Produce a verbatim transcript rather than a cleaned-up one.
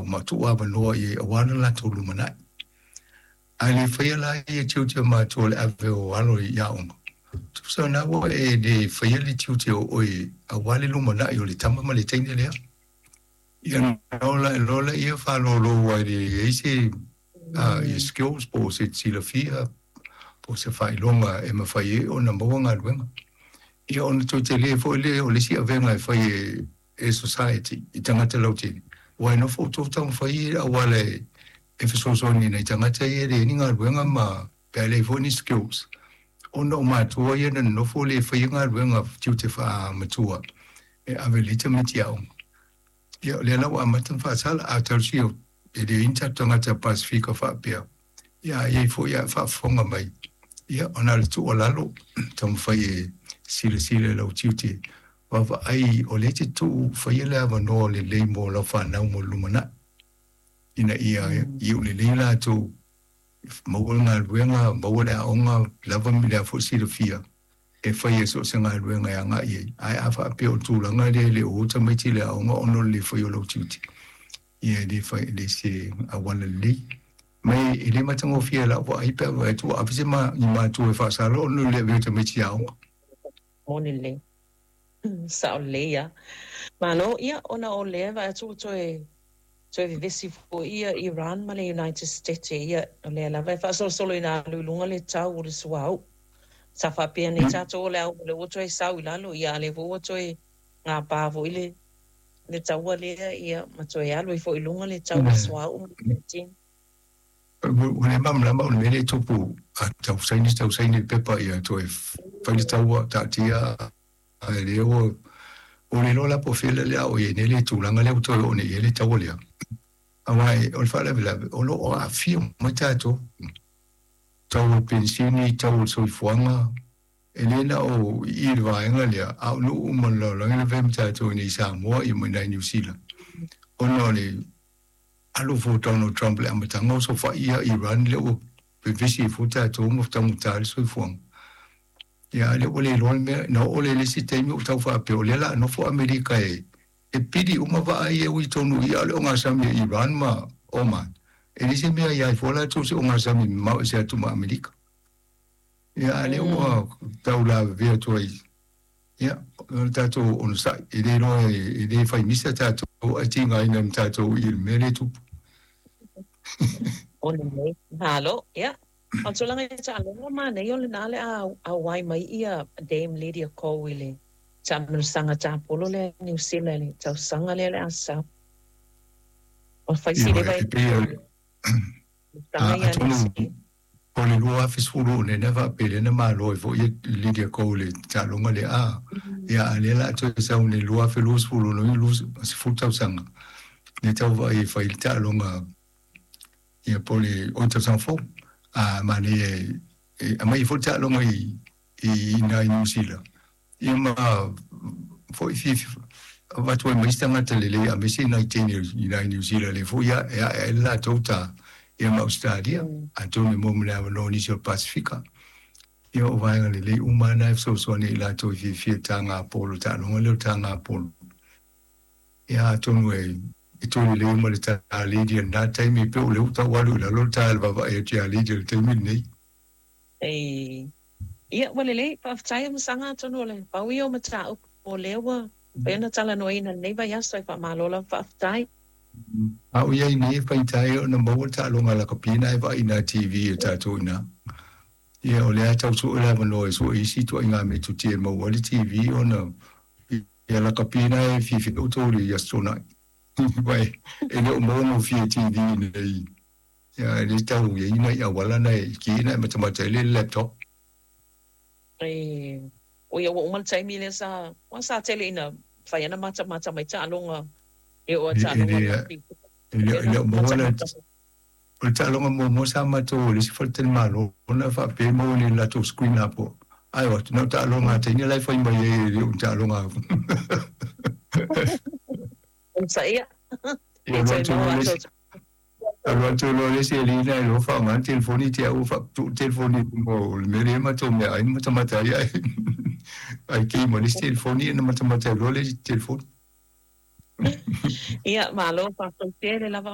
ma tuu avanoa i ai auā le latou lumanai. Ae le faia la ia tiute o matua o le ave o alo i aoga, tusa o lena ua e le faia le tiute o oe auā le lumanai o le tama ma le teine lea. Ia ona loa lea faalōlō aua e leai se ia skills po o se silafia po o se faailoga e mafai ai ona maua galuega. Ia ona toe tele foi lea o le isi avega e fai e e society i tagata lautele, aua e nofo outou taumafai i auala e fesoasoani i nai tagata ia e leai ni galuega ma pe a leai foi ni skills, ona o matua ia na nonofo le faia galuega tiute faa-matua e ave lelei tamaiti aoga. Ia o lea la ua amata ona faasala, a talosia e leai ni tatou tagata Pasefika faapea, ia a i ai foi a e faafofoga mai, ia ona o le tuualalo, taumafai e silasila i lau tiute vaavaai o lea e te tuu faia le avanoa lelei mo lau fanau mo le lumanai, ina ia iu lelei latou, maua le galuega, maua le aoga lava ma le a foi silafia e faia so o se galuega e agai ai. Ae a faapea o le tulaga lea e le o o tamaiti i le aoga ona o le le faia o lau tiute, ia e le fai, e le se auala lelei. Ma e le matagofie i lau vaai pe a vaai atu ua ave se ma, ni matua e faasala ona o le le avea o tamaiti i aoga. Moni lelei. Sao lelei lava. Malo, ia, ona o lea e vaai atu ua toe toe vevesi foi ia Iran ma le United States, ia, o lea lava e faasolosolo ina alu i luga le tau o le suauu. Sa faapea nei tatou o le a o lea ua toe sau i lalo, ia, a o lea foi ua toe gapa foi le le taua lea, ia, ma toe alu ai foi i luga le tau o le suauu ma le peretini. Ua le malamalama o le mea lea e tupu, a tau saini tau saini le pepa ia toe fai le taua taatia ae lea ua ua le iloa la po o fea le a oo i ai nei le tulaga lea ua toe oo nei i ai le taua lea. Aua o le faalavelave o lo o aafia mai tatou, tau o le penisini, tau o le soifuaga, e le na o i i le vaega lea, a o nuu uma o le lalolagi la fai ma tatou i inei i Samoa ia ma i inā i Niu Sila, ona o le alu foi o Donald Trump i le amataga o sofai ia Iran lea ua vevesi ai foi tatou ma taugata le soifuaga. Ia, a lea ua le iloa le mea, na oo lea i le isi taimi ua tau faapea o lea o le a nofo Amerika e e pili uma vaa ia e ui tonu i ia, a o le ogasami a Iran ma Oman, e leai se mea ia ai fua latou se ogasami mamao ese atu ma Amerika. Ia, a lea ua tau lavevea atu ai, ia, o le tatou onosai, e le iloa e le fai misa tatou ae tigaina ma tatou i le mea lea e tupu. Ona nei. Malo, ia. O le tulaga i taaloga manaia o lena le a auai mai ia Dame Lydia Ko i le taamilosaga tapolo lea i Niu Sila i le tausaga lea le a sau. O fai Ia, sileva e i pei o le taga ia atonu Niu Sila. o le lua afe sefulu ono lea faapea lea na malo ai foi ia Lydia Ko i le taaloga lea a ia a lea o le a toe sau nei lua afe luasefulu ono i sefulu tausaga lea tau vaai e fai le taaloga ia po o le oi tausaga fou a manaia e aumai ai foi le taaloga i i ina i Niu Sila ia ma foi fiafia avatu ai ma isi tagata lelei aemaise nai teine i ina i Niu Sila lea foi e ae ai le latou ta ia ma Ausetalia atonu e maua ma le avanoa o nisi o le Pasefika. Ia o vaega lelei uma lava na e fesoasoani ai i latou i fiafia i le taga polo, le taaloga lea o le taga polo. Ia atonu e e toe lelei ma le ta Lydia i lena taimi, pei o lea ua tau alu i lalo le ta i le vaavaai atu ia Lydia i le taimi lenei. Ei, ia, ua lelei, faafetai a Masaga atonu o le pau ia o mataupu o lea ua mafai ona talanoaina i lenei vaiaso e faamalo lava faafetai. A o i ai nei e faigata ai ona maua le taaloga lakapi na e vaai i nā T V a tatou i ina. Ia, o lea e tau sue le avanoa e sue isi ituaiga metotia e maua ai le T V ona ia lakapi na e fiafia outou i le Aso Toonai. Aua e le o maua gofie i T V nei. Ia, e le tau i ai nai auala na e ki na e matamata ai le laptop. E, oi ua uma le taimi lea sa, ua sa tele ina fai ana matamata mai taaloga e oo a E, e taaloga le, rugby. e le, Lea e na le o maua la, matamata mai. o le taaloga muamua sa matou i le isi faletalimalo na faapea e maua nei i le latou screen atoa. Ae o atu, na o taaloga a teine la e fai mai ai e le o ni taaloga. Onosaia. Ia E alu toe atu maua loa le atu isi, alu atu loa le isi alii na e loa faaaoga le telefoni te au faaputuu le telefoni i luga o le mea lea e matou meaai ma matamata ai ae ae kei ma le isi telefoni ona matamata ai loa le isi telefoni. Ia, malo, faafetai tele lava.